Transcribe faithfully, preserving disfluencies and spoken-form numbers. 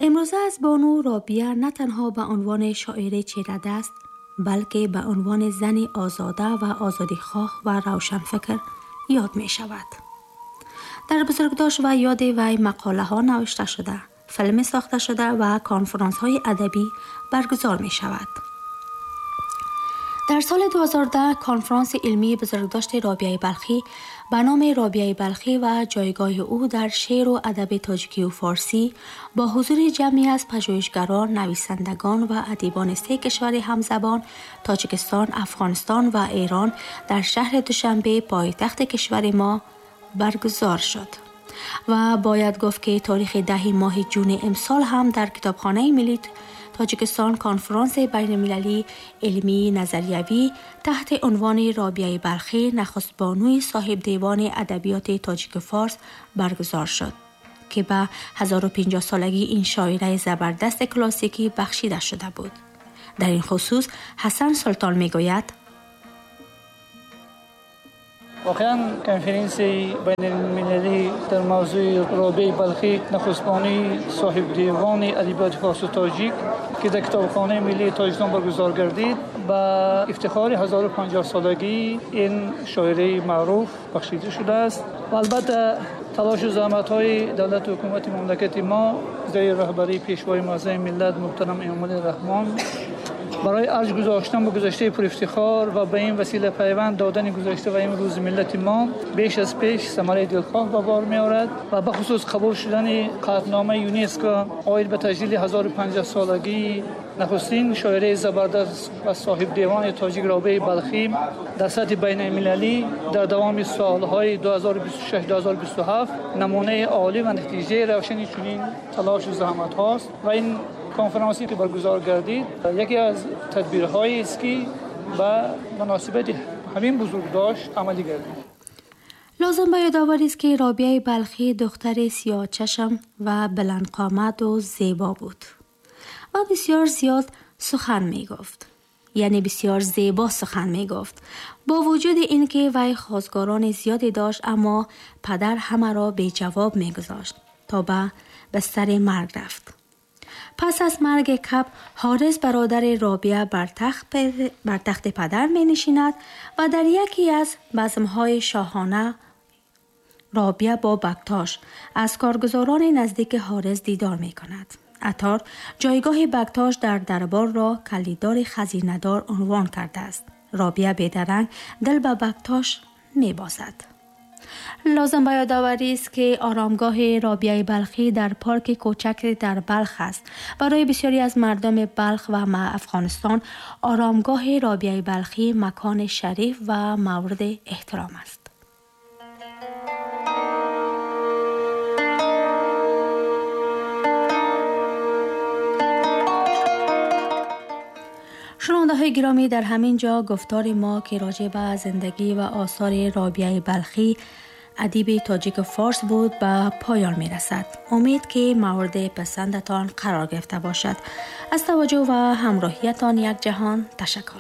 امروزه از بانو رابعه نه تنها به عنوان شاعره چیره‌دست، بلکه به عنوان زن آزاده و آزادیخواه و روشنفکر یاد می شود. در بزرگداشت و یاد وی مقاله ها نوشته شده، فیلم ساخته شده و کنفرانس های ادبی برگزار می شود. در سال دو هزار و ده کنفرانس علمی بزرگداشت رابعه بلخی به نام رابعه بلخی و جایگاه او در شعر و ادب تاجیکی و فارسی با حضور جمعی از پژوهشگران، نویسندگان و ادیبان سه کشور همزبان تاجیکستان، افغانستان و ایران در شهر دوشنبه پایتخت کشور ما برگزار شد. و باید گفت که تاریخ ده ماه جون امسال هم در کتابخانه ملی تاجیکستان کنفرانس بین‌المللی علمی نظریوی تحت عنوان رابعه بلخی نخست بانوی صاحب دیوان ادبیات تاجیک فارس برگزار شد که به هزار و پنجاه سالگی این شاعره زبردست کلاسیکی بخشیده شده بود. در این خصوص حسن سلطان میگوید: واقعا کنفرانس بین‌المللی در موضوع رابعه بلخی نخستبانی صاحب دیوان ادبیات فارس و تاجیک که در کتابخانه ملی تاجیکستان برگزار گردید به افتخار هزار و پنجاه سالگی این شاعره معروف بخشیده شده است و البته تلاش و زحمت‌های دولت و حکومت مملکت ما زیر رهبری پیشوای معظم ملت محترم امامعلی رحمان برای ارج گذاشتن به گذشته پر افتخار و به این وسیله پیوند دادن گذشته و امروز ملت ما بیش از پیش ثمره دلخواه به بار می‌آورد و به خصوص قبول شدن قطعنامه یونسکو عاید به تجلیل هزار و پنجاه سالگی نخستین شاعره زبردست و صاحب دیوان تاجیک رابعه بلخی در سطح بین‌المللی در دوام سالهای دو هزار و بیست و شش تا دو هزار و بیست و هفت نمونه عالی و نتیجه روشنی چنین تلاش و زحمت هاست و این کنفرانسی که برگزار گردید یکی از تدبیرهایی است که به مناسبت همین بزرگداشت عملی گردید. لازم به یادآوری است که رابعه بلخی دختر سیاه چشم و بلند قامت و زیبا بود و بسیار زیاد سخن می گفت، یعنی بسیار زیبا سخن می گفت. با وجود اینکه وی خواستگاران زیادی داشت، اما پدر همه را بی جواب می گذاشت تا به بستر مرگ رفت. پس از مرگ کب، حارث برادر رابعه بر تخت بر تخت پدر می نشیند و در یکی از بزم‌های شاهانه رابعه با بکتاش از کارگزاران نزدیک حارث دیدار می کند. عطار جایگاه بکتاش در دربار را کلیدار خزینه‌دار عنوان کرده است. رابعه بیدرنگ دل به بکتاش می بازد. لازم به یادآوری است که آرامگاه رابعه بلخی در پارک کوچک در بلخ است. برای بسیاری از مردم بلخ و افغانستان آرامگاه رابعه بلخی مکان شریف و مورد احترام است. شنونده‌های گرامی، در همین جا گفتار ما که راجع به زندگی و آثار رابعه بلخی ادیب تاجیک فارس بود به پایان می رسد. امید که مورد پسندتان قرار گرفته باشد. از توجه و همراهیتان یک جهان تشکر.